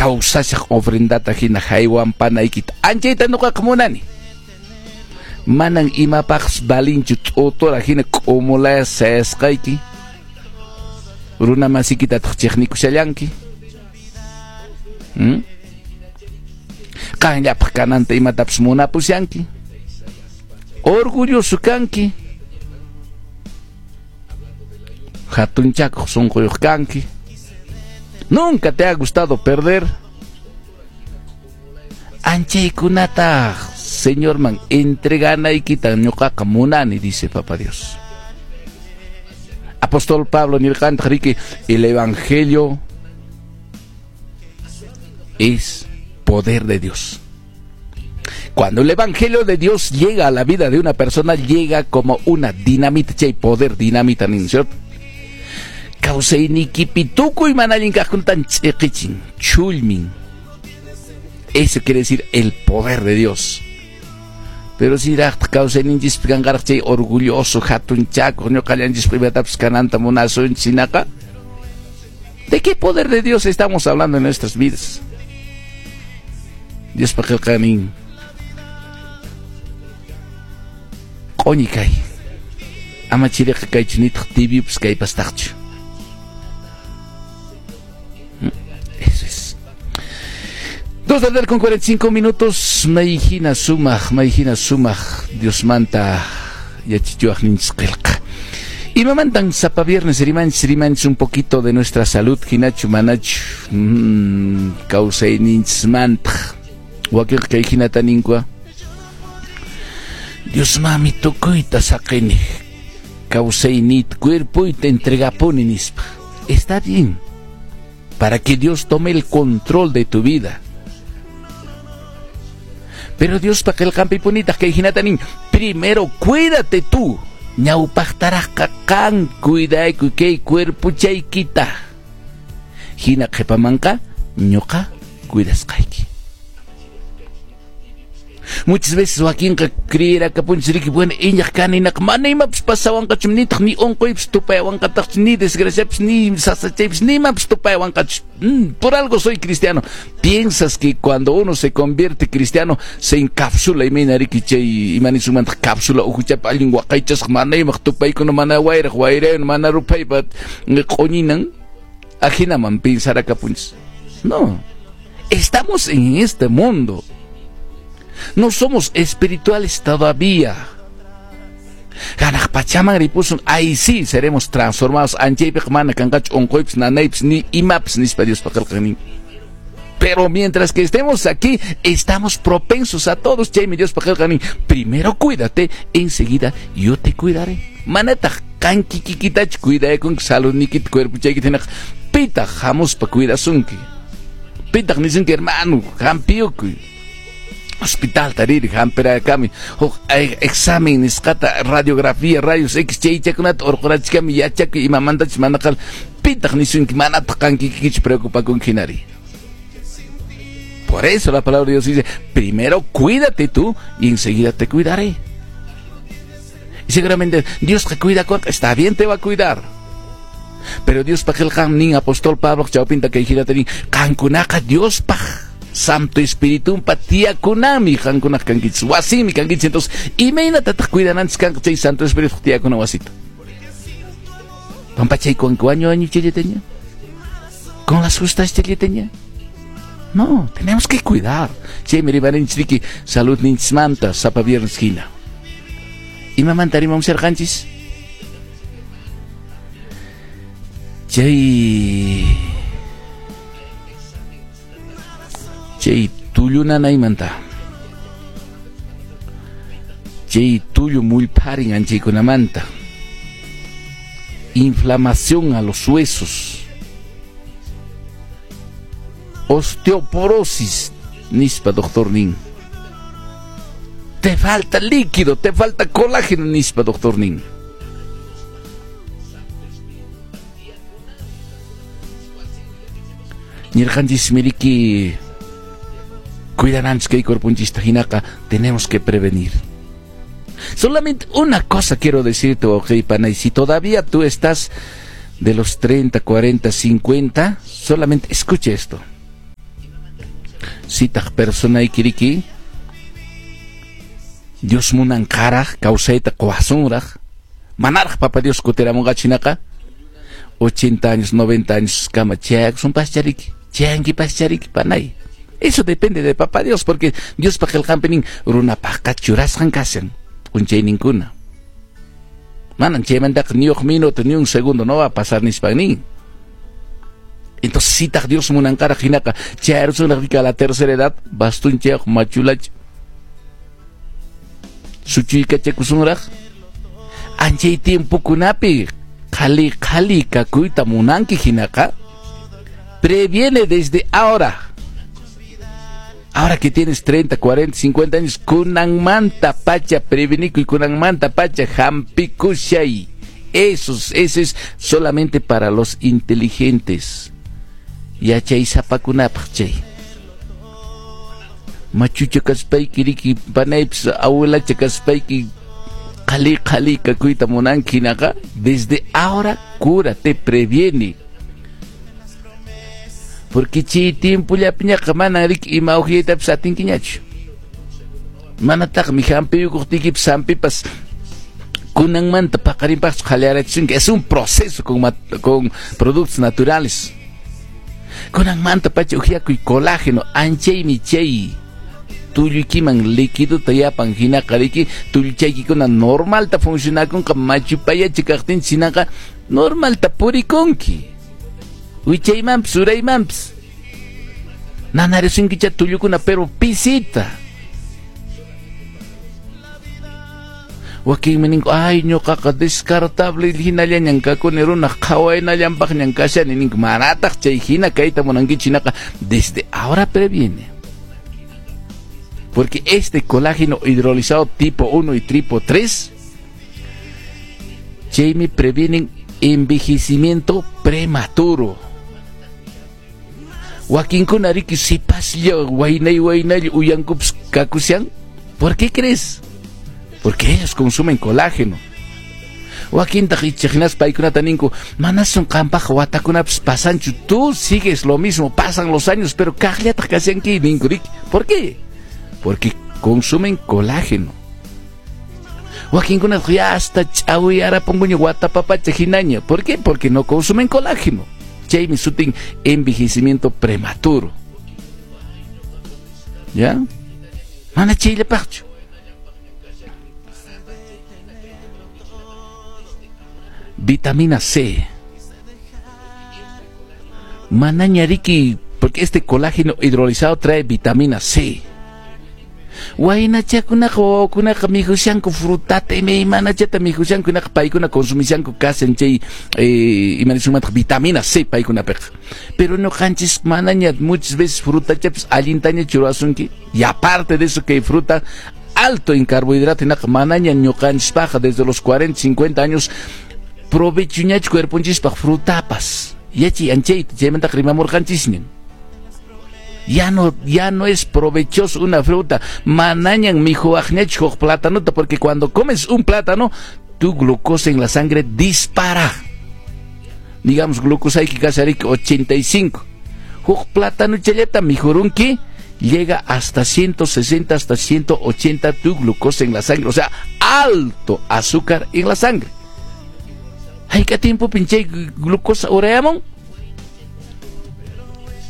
Kawsashaq ofrendata hina haywanpanaykita anchayta ñuqaqa munani. Manan imapaqpas valinchu t'utura hina k'umulaya sayasqayki. Runa masikitataq chiqnikushallanki. Qanllapaq kananta imatapas munapushanki. Orgulloso kanki. Hatunchakuq sunquyuq kanki. Nunca te ha gustado perder. Anchaykunataq Señorman entreganaykita ñuqaqa munani, dice Papá Dios. Apóstol Pablo nirqantaq riki, el evangelio es poder de Dios. Cuando el evangelio de Dios llega a la vida de una persona, llega como una dinamita, chay poder dinamita nin, ¿cierto? Kawsaynikipi tukuy mana allin kaqkunatan ch'iqichin, chullmin. Eso quiere decir el poder de Dios. Pero si raqtaq kawsayninchispi kanqaraq chay orgulloso, hatunchakuq, ñuqallanchispi imatapas kananta munasunchis hinaqa, ¿de qué poder de Dios estamos hablando en nuestras vidas? Diospa qillqanin q'uñi kay, ama chiriqa kaychu nitaq tibiopas kaypastaqchu. Eso es. 2 de la tarde con 45 minutos. Mayhina sumaq, mayhina sumaq Diosmanta yachachiwaqninchis qillqa. Imamantan sapa viernes rimanchis, rimanchis un poquito de nuestra salud, hinachu manachu kawsayninchismantaq. Wakinqa kay hinata ninkua. Dios mami tukuyta saqini, kawsayniyta, cuerpoyta entregapuni nispa. Está bien, para que Dios tome el control de tu vida. Pero Dios pa qillqanpipunitaq kay hinata nin, primero cuídate tú. Ñawpaqtaraqqa qan cuidaykuy kay cuerpochaykita. Hina qhipamanqa ñuqa cuidasqayki. Muchas veces wakinqa creerakapunchis riki, bueno, iñaq kani hinaqa mana imapas pasawanqachu, nitaq ni unquypas tupayawanqataqchu, ni desgraciapas, ni sasachaypas, ni imapas tupayawanqachu. Por algo soy cristiano. Piensas que cuando uno se convierte cristiano se encapsula imayna riki chay imanisumantaq cápsula uhuchapa allin waqaychasqa mana imaq tupaykuna, mana wayraq wayrayun, mana ruphaypa q'uñinan, ajinaman pensarakapunchis. No, estamos en este mundo. No somos espirituales todavía. Hanaq pachaman ripusun, ahí sí seremos transformados. Anchaypiqa mana kanqachu unquypis, nanaypis, ni imapas nispa Diospa qillqanin. Pero mientras que estemos aquí, estamos propensos a todos. Chaymi Diospa qillqanin, primero cuídate, enseguida yo te cuidaré. Manataq qankikikitachu cuidaykunki, saludnikita, cuerpochaykita hinaqa, pitaq hamuspa cuidasunki. Pitaq nisunki, hermano, hampiyukuy. Hospital tariri hampirakami huk examen nisqata, radiografía, rayos X chaychakunata urqurachikami, yachakuy imamantachus manaqal, pitaq nisunki, manataq qankikikichu preocupakunki hinari. Por eso la palabra de Dios dice, primero cuídate tú y enseguida te cuidaré. Y seguramente Dios te cuida, está bien, te va a cuidar. Pero Dios pa qillqan nin apóstol Pablo chawpinta kay hinata nin, qankunaqa Dios paj Santo Espíritu pa tiyakunami qankunaq kankichis, wasimi kankichis. Entonces, imaynatataq cuidananchis kanqa chay Santo Espíritu tiyakuna wasita? Pampachaykuwanki wañu wañu chayllataña, con las justas chayllataña. No, tenemos que cuidar. Chaymi rimarinchis riki salud ninchismanta sapa viernes hina. Imamanta rimamusharqanchis? Chay tullu nanaymanta. Chay tullu mullpharin anchaykunamanta. Inflamación a los huesos. Osteoporosis, nispa doctor nin. Te falta líquido, te falta colágeno, nispa doctor nin. Nirqanchis miriki cuidananchis kay cuerponchista hinaqa, tenemos que prevenir. Solamente una cosa quiero decirte, ok, pana, y si todavía tú estás de los 30, 40, 50, solamente escuche esto. Sitaq personaykiriki Dios munanqaraq kawsayta quwasunraq, manaraq Papa Dios kutiramunqachu hinaqa 80 años, 90 años kama chayakusunpaschariki, chayankipaschariki panay. Eso depende de Papá Dios, porque Diospa qillqanpi nin runapaqqa churasqan kashan p'unchayninkuna. Manan chaymantaqa ni huk minuto ni un segundo no va a pasar nispan nin. Entonces sitaq Dios munanqaraq hinaqa chayarusunraq a la tercera edad bastunchayuq machulacha suchuykachakusunraq anchay tiempokunapi qhali qhali kakuyta munanki hinaqa previene desde ahora. Ahora que tienes 30, 40, 50 años, kunanmanta pacha prevenikuy, kunanmanta pacha hampikushay. Eso es solamente para los inteligentes. Yachaysapakunapaq chay. Machucha kaspayki riki panaypis abuelacha kaspayki qhali qhali kakuyta munanki hinaqa desde ahora cúrate, previene. Porque chay tiempollapiñaqa manan riki ima uhyaytapis atinkiñachu. Manataqmi hampiyukuqtiykipas hampipas kunanmanta paqarinpaqchu qhaliyarachisunki. Es un proceso con productos naturales. Kunanmanta pacha uhyakuy colágeno, anchaymi chay tulluykiman líquidota yapan hinaqa riki tulluchaykikuna normalta funcionakunqa machupayachi kaqtinchis hinaqa normalta purikunki. Wichaymanpis uraymanpis nanarisunkicha tullukuna pero pisita. Wakinmi ninku ay ñuqaqa descartable hinallañan kakuni runaq qhawaynallanpaqñan kashani ninku. Manataq chay hina kayta munankichu hinaqa desde ahora previene. Porque este colágeno hidrolizado tipo 1 y tipo 3 chaymi previenen envejecimiento prematuro. Wakinkuna riki sipaslla waynay waynalla uyankupas kakushan. ¿Por qué crees? Porque ellos consumen colágeno. Wakintaq icha hinaspa paykunata ninku manasun qampaq watakunapas pasanchu, tú sigues lo mismo, pasan los años pero kaqllataq kashanki ninku riki. ¿Por qué? Porque consumen colágeno. Wakinkunataq ya hasta ch'awiyarapunkuña watapapacha hinaña. ¿Por qué? Porque no consumen colágeno. Chaymi sutin envejecimiento prematuro. ¿Ya? Mana chayllapaqchu. Vitamina C. Manaña riki, porque este colágeno hidrolizado trae vitamina C. Waynachakunaqa wawakunaqa mikhushanku frutata imaymanachata mikhushanku hinaqa paykuna consumishanku kashan chay imanisumataq vitamina C paykunapiqa. Pero ñuqanchis manaña muchas veces frutachapis allintaña churasunki. Y aparte de eso que hay fruta alto en carbohidrato hinaqa manaña ñuqanchispaqqa desde los 40, 50 años provechuñachu cuerponchispaq frutapas. Yachi anchayta chaymantaqa rimamurqanchisñan. Ya no es provechoso una fruta. Manañan mijuaqñachu huk platanota, porque cuando comes un plátano, tu glucosa en la sangre dispara. Digamos, glucosa hay que kashariki 85. Huk plátano challata mijurunki llega hasta 160, hasta 180 tu glucosa en la sangre. O sea, alto azúcar en la sangre. Hayka tiempo pinche glucosa urayamon?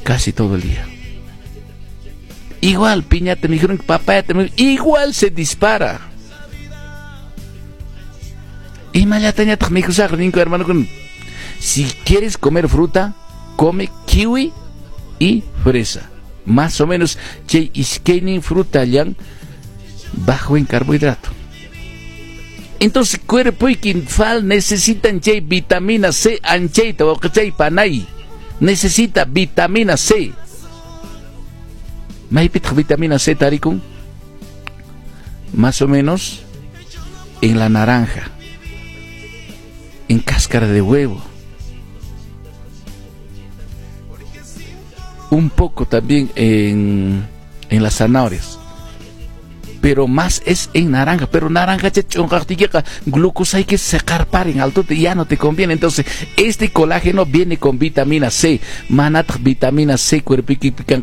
Casi todo el día. Igual, piñata, me dijeron, papaya, igual se dispara. Y hermano, si quieres comer fruta, come kiwi y fresa. Más o menos, chay iskenin fruta llan bajo en carbohidrato. Entonces, cuerpo y quinfal necesitan chay vitamina C, anchayta, o chay panay. Necesita vitamina C. Maypitaq vitamina C tarikun? Más o menos en la naranja, en cáscara de huevo, un poco también en las zanahorias, pero más es en naranja. Pero naranja glucosa hay que secar en alto, ya no te conviene. Entonces este colágeno viene con vitamina C. Manat vitamina C cuerpo.